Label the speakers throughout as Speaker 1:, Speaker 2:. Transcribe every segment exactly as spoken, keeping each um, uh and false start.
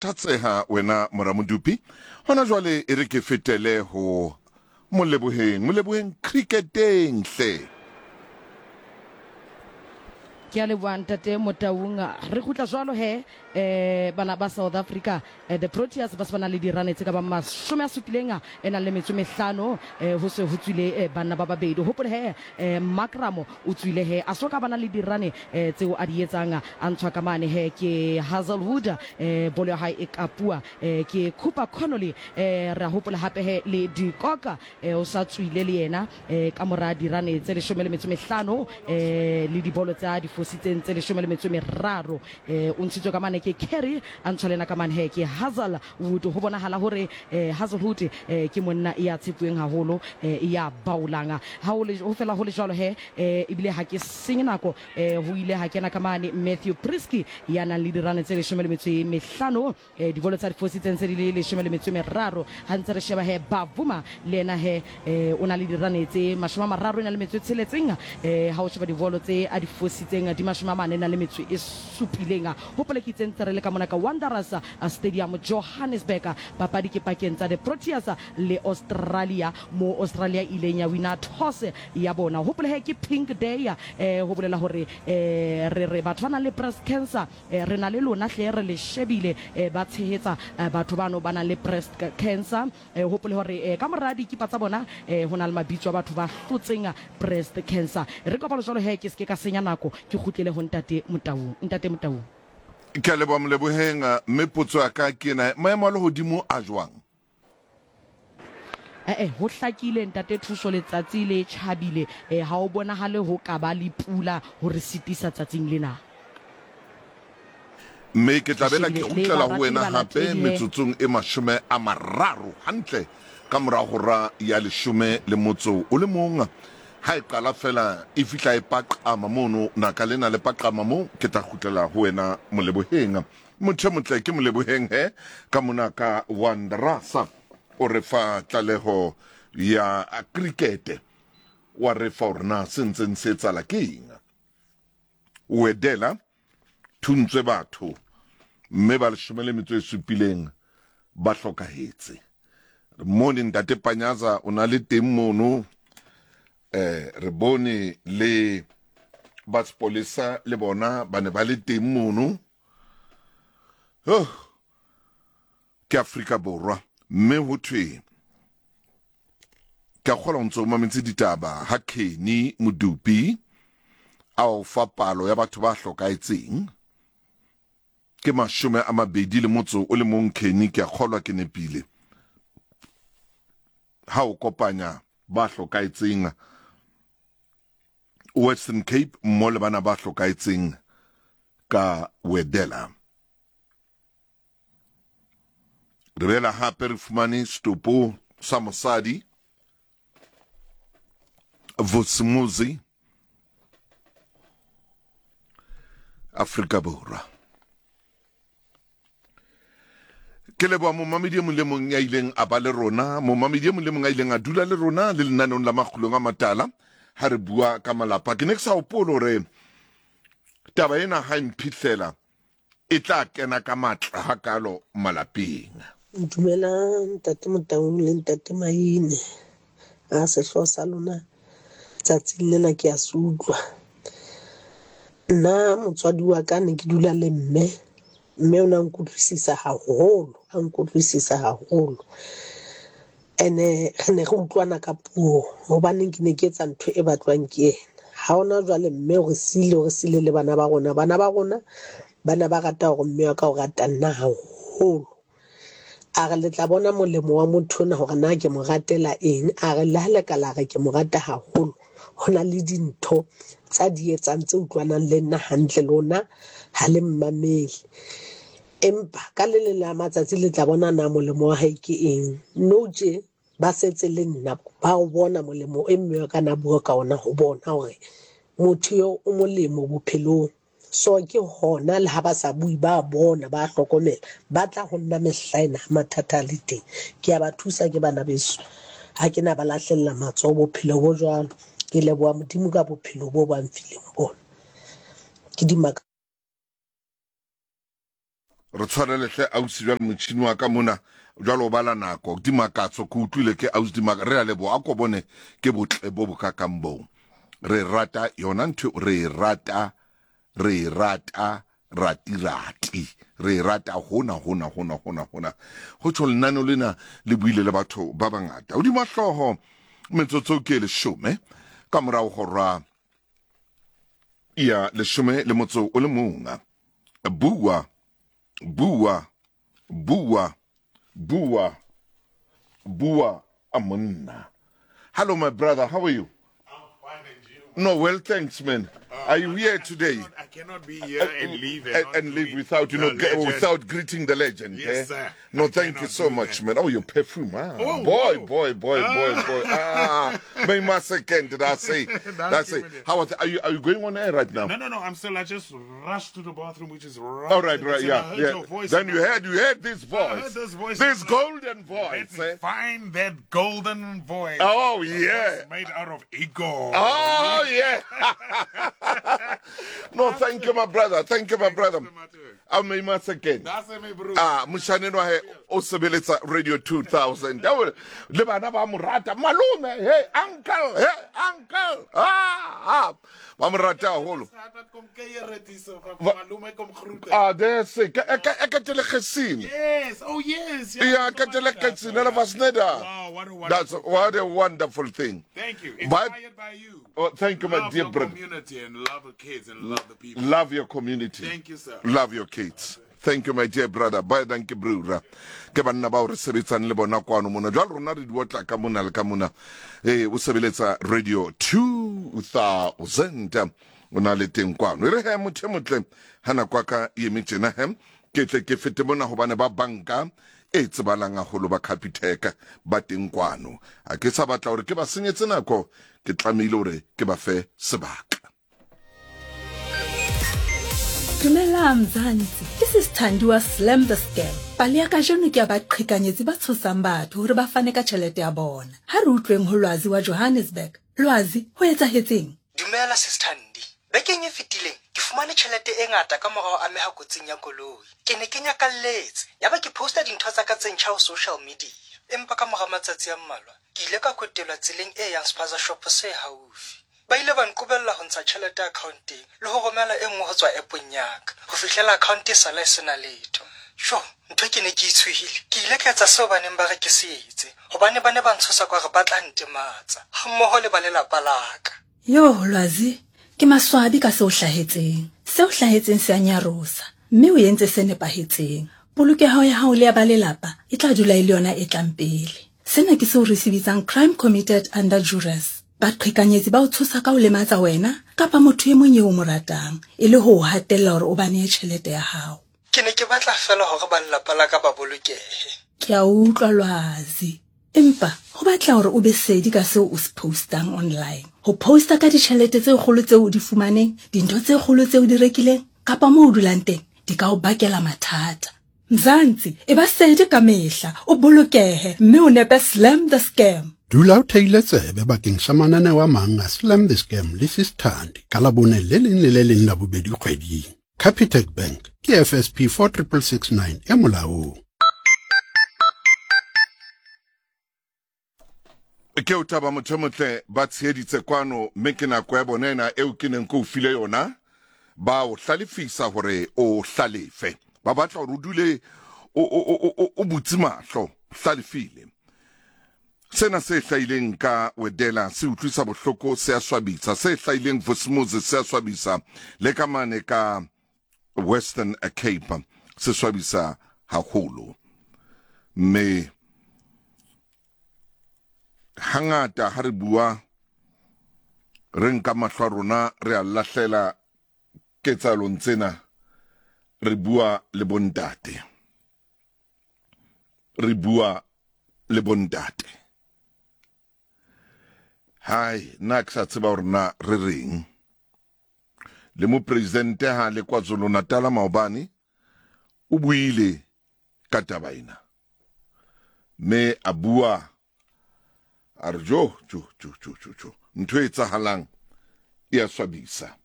Speaker 1: Thatseha wena mora Modupi. Hona jwale e re ke fetele ho Moleboheng. Moleboheng cricketeng hle.
Speaker 2: Ke a leboha ntate Motaung. Re kgutla jwalo he eh bana ba South Africa eh, the Proteas ba se ba na le dirane tse ka bang mashome a supileng e nang le metso e mehlano eh, ho se ho tswile eh, banna ba babedi. Hopole he eh, Markram o tswile he a so ka bana le dirane eh, tseo a di etsang a ntshwa ka mane he ke Hazelwood eh, bolo ya hae e kapua eh, ke Cooper Connolly eh, re a hopola hape he le De Kock eh, o sa tswile le yena eh, ka mora dirane tse leshome le metso e mehlano eh, le dibolo tsa di fositseng tse leshome le metso e meraro eh, o ntshitswe ka mane ke Kerry a ntshwa le ena ka mane he ke Hazelwood. Ho bonahala hore eh, Hazelwood eh, ke monna ya tshepuweng haholo eh, ya baolang ha ho le ho fela ho le jwalo he eh, ebile ha ke senye nako eh, ho ile ha kena ka mane Matthew Breetzke ya nang le dirane tse leshome le metso e mehlano eh, dibolo tsa di fositseng tse di le leshome le metso e meraro. Ha ntse re sheba he Bavuma le yena he eh, o na le dirane tse mashome a mararo e na le metso e tsheletseng eh, ha o sheba dibolo tse a di fositseng di mashome a mane na le metso e supileng. Hopole ke itse ntse re le ka mona ka Wanderers Stadium Johannesburg. Papadi ke pakeng tsa the Proteas le Australia, mo Australia ileng ya wina toss ya bona. Hopole he ke Pink Day eh, ho bolela hore eh, re re batho ba nang le breast cancer eh, re na le lona hle re le shebile eh, ba tshehetsa eh, batho bano ba nang le breast cancer. eh, hopole hore eh, ka mora dikipa tsa bona eh, ho na le mabitso a batho ba hlotseng breast cancer. Re kopalo jwalo he ke se ke ka senya nako ke kgutlele ho ntate Motaung. Ntate Motaung.
Speaker 1: Ke a leboha Moleboheng, mme potso ya ka ke ena, maemo a lehodimo a jwang?
Speaker 2: Eh, ho hlakile ntate Thuso, letsatsi le tjhabile eh, ha o bonahale ho ka ba le pula ho re sitisa tsatsing lena.
Speaker 1: Mme ke tla
Speaker 2: Re
Speaker 1: bela ke
Speaker 2: shebile le
Speaker 1: kgutlela ho
Speaker 2: barati le
Speaker 1: wena hape
Speaker 2: balatedi he.
Speaker 1: metsotsong e mashome a mararo hantle ka mora hora ya leshome le motso o le mong. Ha e qala fela e fihla e paqama mono, naka lena le paqama mo, ke tla kgutlela ho wena Moleboheng. Motho e motle ke Moleboheng he ka mona ka Wanderers o re fa tlaleho ya krikete, wa re fa hore na se ntseng se etsahala ke eng. Wedela thuntswe batho mme ba leshome le metso e supileng ba hlokahetse. Re mone ntate Panyaza o na le teng mono, eh re bone le ba sepolesa le bona ba ne ba le teng mono. Oh, ke Afrika Borwa mme ho thwe ke a kgolwa o ntso o mametse ditaba ha Kenny Modupi a o fa palo ya batho ba hlokahetseng ke mashome a mabedi le motso o le mong. Kenny, ke a kgolwa ke nepile ha o kopanya ba hlokahetseng Western Cape mmo le bana ba hlokahetseng ka Wedela. Re bela hape re fumane setopo sa mosadi Vusimuzi Afrika Borwa. Ke leboha momamedi e mong le mong ya ileng a ba le rona, momamedi e mong le mong a ileng a dula le rona le lenaneong la Makgulong a Matala ha re bua ka malapa. Ke ne ke sa hopole hore taba ena ha e mphihlela e tla kena ka matla hakalo malapeng.
Speaker 3: Dumelang ntate Motaung le ntate Maine. A sehlooho sa lona tsatsing lena ke a se utlwa. Nna motswadi wa ka ne ke dula le mme, mme o na nkutlwisisa haholo, a nkutlwisisa haholo. Ene re ne re utlwana ka puo hobaneng ke ne ke etsa ntho e batlwang ke yena. Ha hona jwale mme o re siile, o re siile le bana ba rona. Bana ba rona bana ba rata hore mme wa ka o rata nna haholo. A re le tla bona molemo wa motho ona hore na ke mo ratela eng. A re le ha le ka la re ke mo rata haholo, ho na le dintho tsa di etsang tse utlwanang le nna hantle, lona ha le mmamele. Empa ka le leng la matsatsi le tla bona na molemo wa hae ke eng. Nou tje ba setse le nna ba o bona molemo e mme wa ka na bua ka ona ho bona hore motho eo o molemo bophelong. So ke hona le ha ba sa bue ba bona ba hlokomela, ba tla ho nna mehla ena ha mathata a le teng. Ke a ba thusa ke bana beso, ha ke na ba lahlella matsoho bophelo bo jwalo. Ke leboha Modimo ka bophelo bo ba mfileng bona. Ke dimaka.
Speaker 1: Re tshwarele hle ausi jwale motjhini wa ka mona jwale o bala nako Dimakatso ke utlwile ke ausi Dimaka re a leboha a ko bone ke botle bo bokakang boo re rata yona ntho re rata re rata rati-rati re rata hona hona hona hona hona ho tjho lenaneo lena le buile le batho ba bangata hodima hlooho metsotso ke leshome ka morao hora ya leshome le motso o le mong. Bua bua bua bua bua a monna. Hello my brother, how are you? No, well, thanks, man.
Speaker 4: Uh,
Speaker 1: Are you here
Speaker 4: I
Speaker 1: today?
Speaker 4: Cannot, I cannot be here and leave and,
Speaker 1: and, and leave without, you know,
Speaker 4: legend.
Speaker 1: without greeting the legend.
Speaker 4: Yes,
Speaker 1: eh?
Speaker 4: sir.
Speaker 1: No,
Speaker 4: I
Speaker 1: thank you
Speaker 4: cannot
Speaker 1: so
Speaker 4: do
Speaker 1: much,
Speaker 4: that.
Speaker 1: man. Oh, your perfume, ah.
Speaker 4: Oh,
Speaker 1: boy,
Speaker 4: whoa.
Speaker 1: boy, boy, boy, boy. Ah, may my second, did I say? That's it. How are, th- are you? Are you going on air right now?
Speaker 4: No, no, no. I'm still. I just rushed to the bathroom, which is right.
Speaker 1: All right, right,
Speaker 4: and I
Speaker 1: yeah,
Speaker 4: heard
Speaker 1: yeah.
Speaker 4: your voice.
Speaker 1: Then you heard, you heard this voice.
Speaker 4: I heard this voice.
Speaker 1: This golden voice.
Speaker 4: Let me
Speaker 1: Eh?
Speaker 4: find that golden voice.
Speaker 1: Oh
Speaker 4: A
Speaker 1: yeah.
Speaker 4: voice made out of ego.
Speaker 1: Oh yeah. No, thank you, my brother. Thank you, my brother. I'm again. Ah, moshaneng wa hae o sebeletsa Radio two thousand. Le bana ba mo rata. Malome, hey uncle, hey uncle. Ah, ah. Ba mo rata haholo. Ah, there's e ka e ka telegesien.
Speaker 4: Yes, oh yes.
Speaker 1: Ja, ek het hulle gesien. Hulle was net daar.
Speaker 4: Wow, what a wonderful
Speaker 1: That's what a wonderful thing.
Speaker 4: Thank you.
Speaker 1: But-
Speaker 4: Inspired by you.
Speaker 1: Oh, thank you, my
Speaker 4: Love
Speaker 1: dear
Speaker 4: your
Speaker 1: brother.
Speaker 4: community and love the kids and love the people.
Speaker 1: Love your community.
Speaker 4: Thank you, sir.
Speaker 1: Love your kids. Thank you, my dear brother. Baie dankie, broer. Ke banna bao re sebetsang le bona kwano mona. Jwale rona re di otla ka mona le ka mona. Eh, o sebeletsa Radio two thousand. O na le teng kwano. E re he motho e motle ha nako ya ka e eme tjena he. Ke tle ke fete mona hobane ba banka e tsebalang haholo ba Capitec ba teng kwano. Ha ke sa batla hore ke ba senyetse nako, ke tlamehile hore ke ba fe sebaka.
Speaker 5: Dumela Mzansi, this is Thandiwa Slam the Scam. Pale ya kajeno ke ya baqhekanyetsi ba tshosang batho hore ba fane ka tjhelete ya bona. Ha re utlweng ho Lwazi wa Johannesburg. Lwazi, ho etsahetseng?
Speaker 6: Dumela Sis Thandi. Bekeng e fetileng ke fumane tjhelete e ngata ka mora ho ameha kotsing ya koloi. Ke ne ke nyakalletse, yaba ke posta dintho tsa ka tse ntjha ho social media. Empa ka mora matsatsi a mmalwa, ke ile ka kwetelwa tseleng e yang spaza shop se haufi. Ba ile ba nqobella ho ntsha tjhelete accounteng le ho romela e nngwe ho tswa app-ong ya ka ho fihlela account e sala e sena letho. Sho, ntho ke ne ke itshohile. Ke ile ka etsa seo ba neng ba re ke se etse, hobane ba ne ba ntshosa ka hore ba tla ntematsa hammoho le ba lelapa la ka.
Speaker 5: Yo, Lwazi, ke maswabi ka seo hlahetseng. Seo hlahetseng se a nyarosa, mme o entse se nepahetseng. Polokeho ya hao le ya ba lelapa e tla dula e le yona e tlang pele. Sena ke seo re se bitsang crime committed under duress. Baqhekanyetsi ba o tshosa ka ho lematsa wena kapa motho e mong eo o mo ratang, e le ho o hatella hore o ba nee tjhelete ya hao.
Speaker 6: Ke ne ke batla feela hore ba lelapa la ka ba bolokehe.
Speaker 5: Ke a utlwa Lwazi. Empa ho batla hore o be sedi ka seo o se postang online. Ho posta ka ditjhelete tse kgolo tseo o di fumaneng, dintho tse kgolo tseo o di rekileng, kapa moo o dulang teng, di ka o bakela mathata. Mzansi, e ba sedi ka mehla, o bolokehe, mme o nepe Slam the Scam.
Speaker 7: Dula o theile tsebe bakeng sa mananeo a mang a Slam the Scam le Sis Thandi ka Labone le leng le le leng la bobedi kgweding. Capitec Bank ke F S P four triple six nine e molaong.
Speaker 1: Ke o thaba motho e motle ba tsheheditse kwano, mme ke nako ya bona ena eo ke neng ke o file yona. Ba o hlalefisa hore o hlalefe. Ba batla hore o dule o o o o butse mahlo, hlalefile. Sena se hlahileng ka Wedela se utlwisa bohloko, se a swabisa. Se hlahileng Vosmuzi se a swabisa, le ka mane ka Western Cape se swabisa haholo. Mme hangata ha re bua re nka mahlo a rona re a lahlela ketsahalong tsena, re bua le bontate, re bua le bontate. Hai, nna ke sa tseba hore na re reng. Le mopresidente ha le KwaZulu-Natal maobane o buile ka taba ena, mme a bua a re jo jo jo jo jo jo ntho e etsahalang e a swabisa,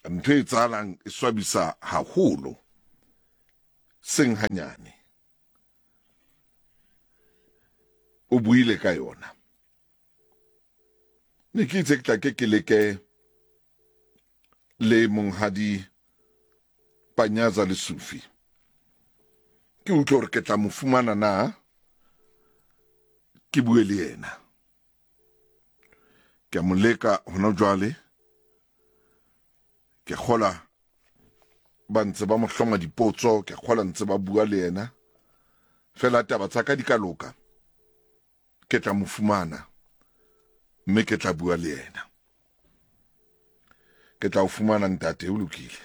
Speaker 1: ntho e etsahalang e swabisa haholo. Seng hanyane. O buile ka yona. Ne ke itse ke tla ke ke leke le monghadi Panyaza Lesufi. Ke utlwe hore ke tla mo fumana na, ke bue le yena. Ke a mo leka hona jwale. Ke kgola ba ntse ba mo hloma dipotso, ke kgola ntse ba bua le yena. Fela taba tsa ka di ka loka, ke tla mo fumana mme ke tla bua le yena. Ke tla o fumana ntate, o lokile.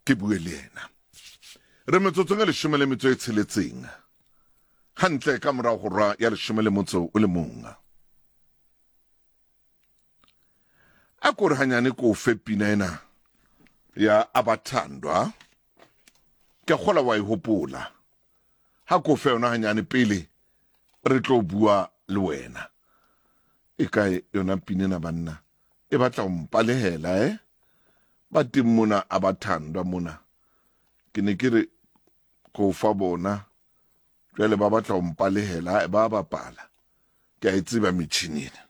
Speaker 1: Ke bue le yena. Re metsotsong e leshome le metso e tsheletseng. Hantle ka morao ho hora ya leshome le motso o le mong. A ko re hanyane ko fe pina ena ya Abathandwa. Ke kgola wa e hopola. Ha ko fe yona hanyane pele re tlo bua le wena. E kae yona pina ena banna? E batla ho mpalehela eh? Ba teng mona Abathandwa mona. Ke ne ke re ko fa bona jwale ba batla ho mpalehela, ba bapala. Ke a e tseba metjhini ena.